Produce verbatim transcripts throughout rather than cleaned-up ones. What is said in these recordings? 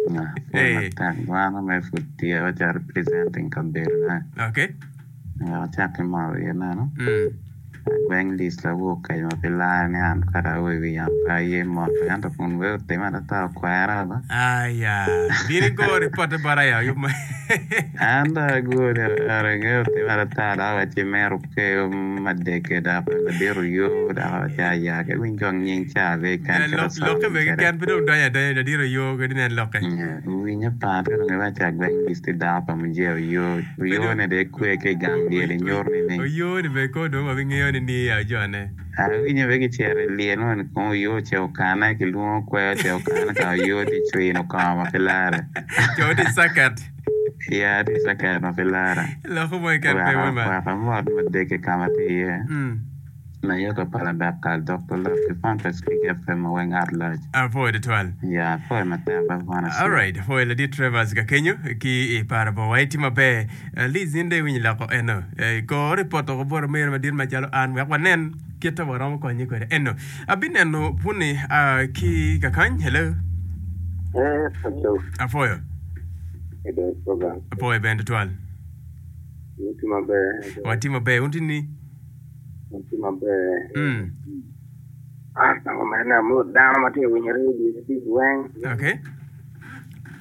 Pwoyo matek dwano me pud tye waca representing kabedona. Okay. Wek acak ki moro iye neno. Mm. Agweng Liz lawor kec ma pe lare ni an kara awo i wi yamo pe aye mot ento kun weo otime adada okwera ba. Aya, bin igo ripotte bota ya yub ma. An dong ago ni ero otime adada dok awacci mero okeyo madeke dok ladit oyo dok awacci aya ke winy kong nying ca be kan Lokke cito bene keken pe dong donyo adonya ladit oyo kadi nen lokke. Winyo pat ka dong iwacci agweng Liz tye dako pa mujee oyo oyo ne dong ekwe ki i gang lyel inyuto ni Oyo ni bene kor dong wabingeyo ni ni ya jone. Awinyo bene kicito i lyel moni kong oyo ocito okane kilwongo kwer ocito okane ka oyo tye cwino kongo ma pe lare. Co tye i caket. Ya tye i caket ma pe lare. Loko mo keken pe wema. Wek amot madeke ka ma tye iye. Mm. Nayoka pa Labekal Doktor Love ki Fanta Speak FM ma weng at large. Apwoyo tutwal. Ya apwoyo matek ba Bwana Sir. Alright, apwoyo ladit Trevors ka kenyo ki i Parabo. Wa itye maber. Uh, Liz in dong iwinyo loko eno. Eh, kor ripot oko bot omere madit macalo an wek wanen kit ma waromo konye kwede eno. Abineno puni uh, ki kakany. Hello. Eh, Paco, Apwoyo. edo program. Apwoyo bene tutwal. Watye maber. Watye maber. Un tye ni? Watye maber. Mm. Ah, tango mene amot dano ma tye ka winyo radio tic weng. Okay.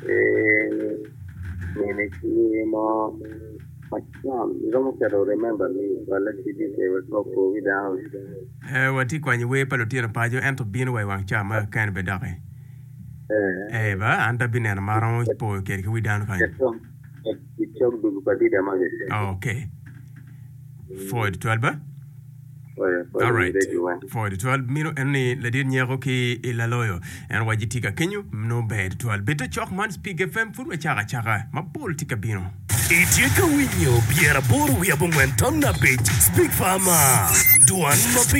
Eh, nene tye mo macon iromo keto remember me wala CDK wek opo wi dano. Eh, watye kwanyo wer pa lutino paco ento bino wa i wang ca ma kene be doki. Eh, Eh, ba an ta bineno ma romo poyo kede ki wi dano kany. icok icok dugu pa dida magi. Okay. Four twelve ba? Oya, oya, Alright. radio weng. Four twelve mino en ni ladit nyeko ki i laloyo. En waci tye ka kenyo no ber twelve. Bedo cok man Speak FM pud wacako acaka mapol tye ka bino. Itye ka winyo pyeraboro wiye abongwen tam abic Speak Farmer Dwan ma pe